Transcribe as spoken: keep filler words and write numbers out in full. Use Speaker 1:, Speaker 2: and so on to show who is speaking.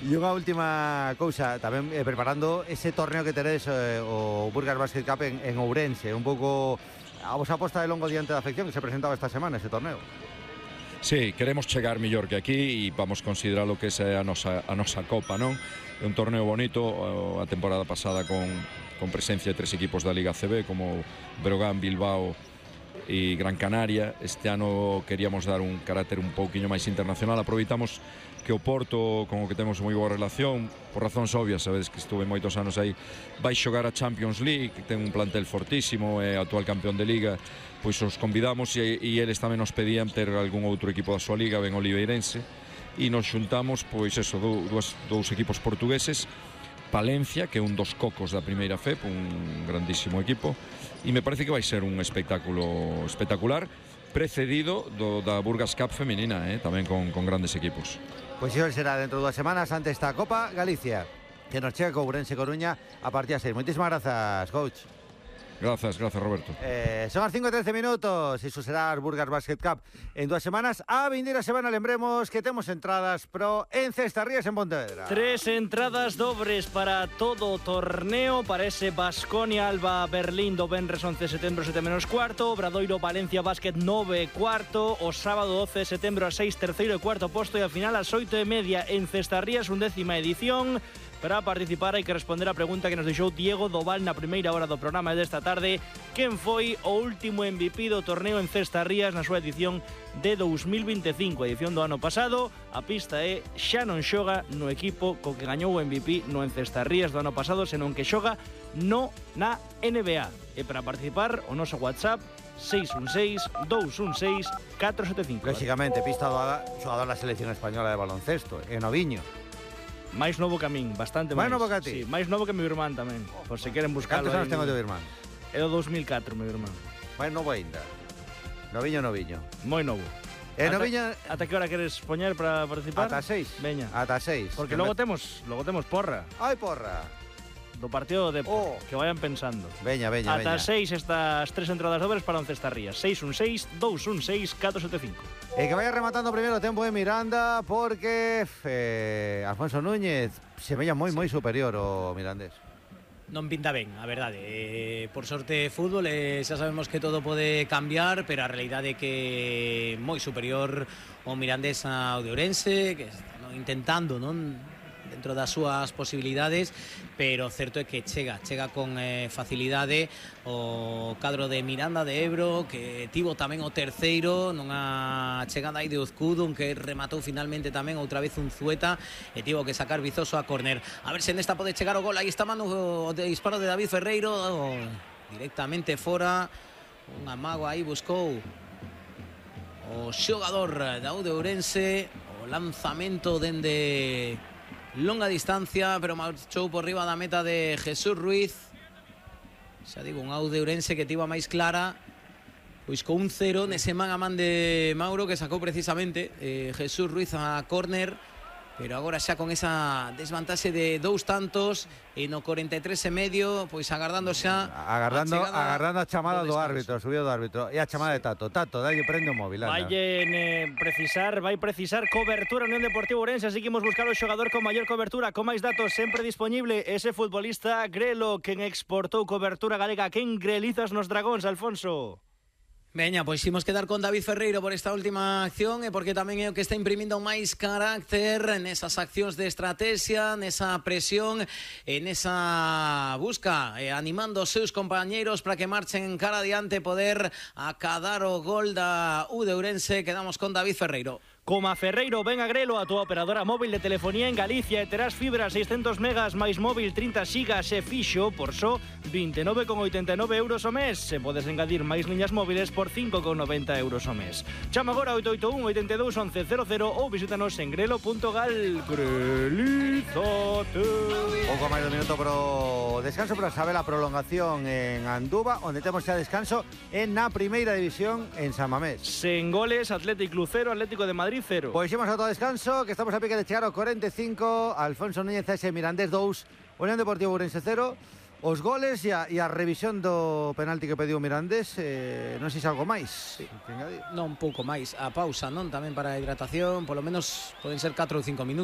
Speaker 1: E unha última cousa, tamén eh, preparando ese torneo que teredes eh, o Burgas Basket Cup en, en Ourense, un pouco a vosa aposta de longo diante da afección que se presentaba esta semana ese torneo.
Speaker 2: Sí, queremos chegar mellor que aquí e vamos considerar lo que é a nosa, a nosa copa, non? É un torneo bonito, a temporada pasada con, con presencia de tres equipos da Liga A C B como Breogán, Bilbao e Gran Canaria. Este ano queríamos dar un carácter un pouquiño máis internacional. Aproveitamos que o Porto, con o que temos moi boa relación, por razóns obvias, sabedes que estuve moitos anos aí, vai xogar a Champions League, que ten un plantel fortísimo, é actual campeón de Liga, pois os convidamos e, e eles tamén nos pedían ter algún outro equipo da súa Liga, ben Oliveirense, e nos xuntamos, pois eso, dous, dous equipos portugueses, Palencia, que é un dos cocos da primeira F E P, un grandísimo equipo, e me parece que vai ser un espectáculo espectacular, precedido do, da Burgas Cup femenina, eh, tamén con, con grandes equipos.
Speaker 1: Pois iso será dentro de dúas semanas ante esta Copa Galicia, que nos chega co Ourense Coruña a partir das seis. Moitísimas grazas, coach.
Speaker 2: Gracias, gracias, Roberto.
Speaker 1: Eh, son as cinco e trece minutos. Iso será as Burgas Basket Cup en dúas semanas. A vindeira semana lembremos que temos entradas pro en Cestarrías en Pontevedra.
Speaker 3: Tres entradas dobres para todo o torneo. Para ese Baskonia Alba Berlín do venres once de setembro sete menos cuarto, Obradoiro Valencia Basket nove cuarto, o sábado doce de setembro a seis terceiro e cuarto posto, e a final ás oito e media en Cestarrías, undécima edición. Para participar hai que responder a pregunta que nos deixou Diego Doval na primeira hora do programa desta tarde: quen foi o último M V P do torneo en Cestarrías na súa edición de dous mil veinticinco, a edición do ano pasado? A pista é xa non xoga no equipo co que gañou o M V P no en Cestarrías do ano pasado, senón que xoga no na N B A. E para participar, o noso WhatsApp seis un seis, dous un seis, catro sete cinco.
Speaker 1: Lógicamente, pista doada, xogador da selección española de baloncesto, e Noviño.
Speaker 3: Máis novo que a min, bastante máis.
Speaker 1: Máis novo que a ti?
Speaker 3: Sí, máis novo que meu irmán tamén, por se queren buscalo.
Speaker 1: Cantos anos ten o teu irmán?
Speaker 3: É do dous mil catro, meu irmán.
Speaker 1: Máis novo aínda. Noviño, noviño.
Speaker 3: Moi novo.
Speaker 1: E
Speaker 3: ata,
Speaker 1: Noviño...
Speaker 3: Ata que hora queres poñer para participar?
Speaker 1: Ata seis.
Speaker 3: Veña.
Speaker 1: Ata seis.
Speaker 3: Porque logo temos, logo temos porra.
Speaker 1: Ai, porra.
Speaker 3: Do partido de
Speaker 1: oh.
Speaker 3: que vayan pensando.
Speaker 1: Veña, veña,
Speaker 3: Ata
Speaker 1: veña.
Speaker 3: seis estas tres entradas dobres para once Cestarrías. seis un seis, dous un seis, catro sete cinco.
Speaker 1: E que vaya rematando primeiro o tempo de Miranda, porque eh, Alfonso Núñez se veía moi, moi superior o mirandés.
Speaker 4: Non pinta ben, a verdade. Eh, por sorte, fútbol, eh, xa sabemos que todo pode cambiar, pero a realidade é que moi superior o mirandés ao de Ourense, que está intentando, non, dentro das súas posibilidades, pero certo é que chega, chega con eh, facilidade o cadro de Miranda de Ebro, que tivo tamén o terceiro nunha chegada aí de Uzcudun, que rematou finalmente tamén outra vez un Zueta, e tivo que sacar Vizoso a córner. A ver se nesta pode chegar o gol. Aí está mano o de disparo de David Ferreiro, o, directamente fora, un amago aí buscou o xogador da U de Ourense, o lanzamento dende longa distancia, pero marchou por riba da meta de Jesús Ruiz. Xa digo, un Aude Ourense que tivo a máis clara, pois con un cero nese man a man de Mauro, que sacou precisamente eh, Jesús Ruiz a córner, pero agora xa con esa desvantaxe de dous tantos, e no corenta e tres e medio, pois agardando xa
Speaker 1: agardando
Speaker 4: a
Speaker 1: agardando a chamada do, do árbitro, subiu do árbitro, e a chamada sí. de Tato. Tato, dalle prende o móvil.
Speaker 3: Vai eh, precisar, vai precisar cobertura Unión Deportiva Ourense, así que imos buscar o xogador con maior cobertura, con máis datos sempre disponible, ese futbolista Grelo, quen exportou cobertura galega. Quen grelizas nos Dragóns, Alfonso?
Speaker 4: Veña, pois imos quedar con David Ferreiro por esta última acción, e porque tamén é o que está imprimindo máis carácter nesas accións de estrategia, nesa presión, en esa busca, eh, animando os seus compañeiros para que marchen cara adiante, poder acadar o gol da U de Ourense. Quedamos con David Ferreiro.
Speaker 3: Coma Ferreiro, ven a Grelo, a túa operadora móvil de telefonía en Galicia, e terás fibra seiscentos megas máis móvil trinta xigas e fixo por só vinte e nove con oitenta e nove euros ao mes. Se podes engadir máis liñas móviles por cinco con noventa euros ao mes. Chama agora oito oito un, oito dous, once cero cero ou visítanos en grelo punto gal. Grelízate.
Speaker 1: Pouco máis do minuto pro descanso, para saber a prolongación en Anduva, onde temos xa descanso en na primeira división en San Mamés.
Speaker 3: Sen goles, Atlético cero, Atlético de Madrid cero.
Speaker 1: Pois imos a todo descanso, que estamos a pique de chegar ao corenta e cinco. Alfonso Núñez ese Mirandés dous, Unión Deportiva Ourense cero. Os goles e a, e a revisión do penalti que pediu Mirandés, eh, non sei se algo máis.
Speaker 4: Sí. Non, un pouco máis. A pausa, non? Tamén para a hidratación, polo menos poden ser catro ou cinco minutos.